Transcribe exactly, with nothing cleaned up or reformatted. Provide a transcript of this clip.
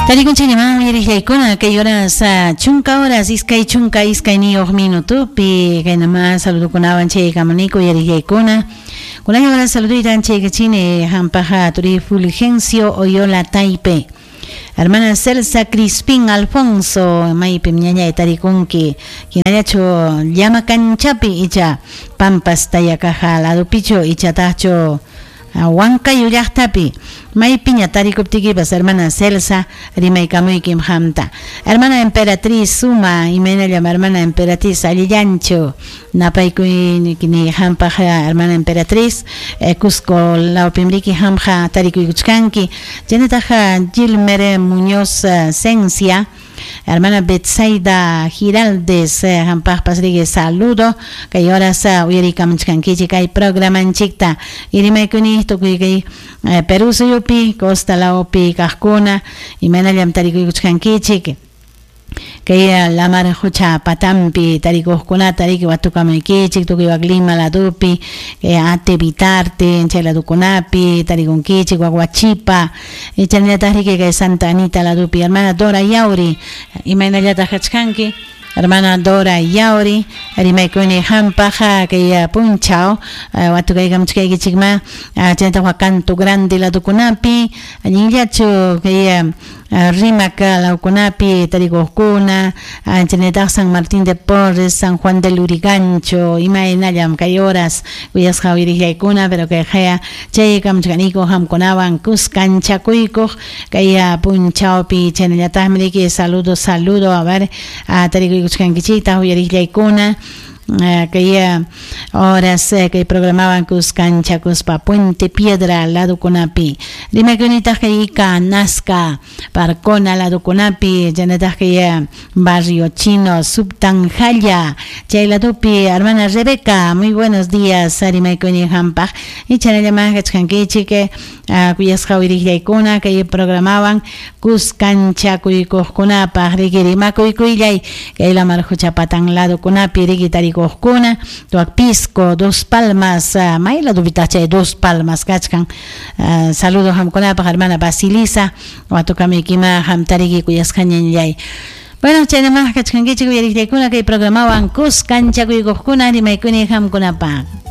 Tarikunchikman uyariqllaykuna kay horas chunka horas iskay chunka iskayniyuq minutupi kaynama saludukunawan chaykamuniku uyariqllaykuna kunan horas saluduytan chaykachini hampaqa turi Fulgencio Oyola Taipe hermana Celsa Crispín Alfonso maypim ñañay tarikunki hinallachu llama kanchapi icha Pampas Tayakaja ladupichu ichataqchu Huancayo llaqtapi maypiña tarikuptikipas hermana Celsa rimaykamuykim hamta hermana Emperatriz Suma imaynallam hermana Emperatriz allillanchu napaykuyni hampaq hermana Emperatriz eh, Cusco lawpimriki hamqa tarikuykuchkanki chaynataqa Gilmer Muñoz Cencia hermana Betsaida Giraldes hampaqpas riki saludo kay horas uyarikamuchkankichik kay programanchikta irimaykuni tukuy kay Perú suyupi Costa lawpi kaqkuna imaynallam tarikuykuchkankichik kay lamar hucha patampi tarikuqkunata riki watukamuykichik tukuy wak Lima ladupi kay Ate Vitarte chay ladukunapi tarikunkichik wak Huachipa chaynallataq riki kay Santa Anita ladupi hermana Dora Yauri imaynallataq kachkanki hermana Dora Yauri rimaykuni hampaqa kay punchaw watukaykamuchkaykichikma chaynataq wak Canto Grande ladukunapi allinllachu kay Rimac lawkunapi tarikuqkuna chaynataq San Martín de Porres, San Juan del Lurigancho imaynallam kay horas kuyasqa uyariqllaykuna pero kay qaya chaykamuchkaniku hamkunawan kuskanchakuykuq kay punchawpi chaynallataqmi riki saludo saludo a ver tarikuykuchkankichiktaq uyariqllaykuna kay horas kay programawan kuskanchakuspa Puente Piedra ladukunapi rimaykunitaq kay Ica Nazca Parcona ladukunapi chaynataq kay Barrio Chino Subtanjalla chay ladupi hermana Rebeca muy buenos días rimaykuni hampaq y chaynallaman kachkankichik kuyasqa uyariqllaykuna kay programawan kuskanchakuykuqkunapaq riki rimakuykullay kay lamar hucha patan ladukunapi riki tarikuqkuna tuak Pisco, Dos Palmas, uh, may ladupitaq chay Dos Palmas kachkan uh, saludo hamkunapaq hermana Basilisa watukamykima hamtariki kuyasqa ñañallay. Bueno, chaynamaq kachkankichik uyariqllaykuna kay programawan kuskanchakuykuqkuna rimaykuni hamkunapaq.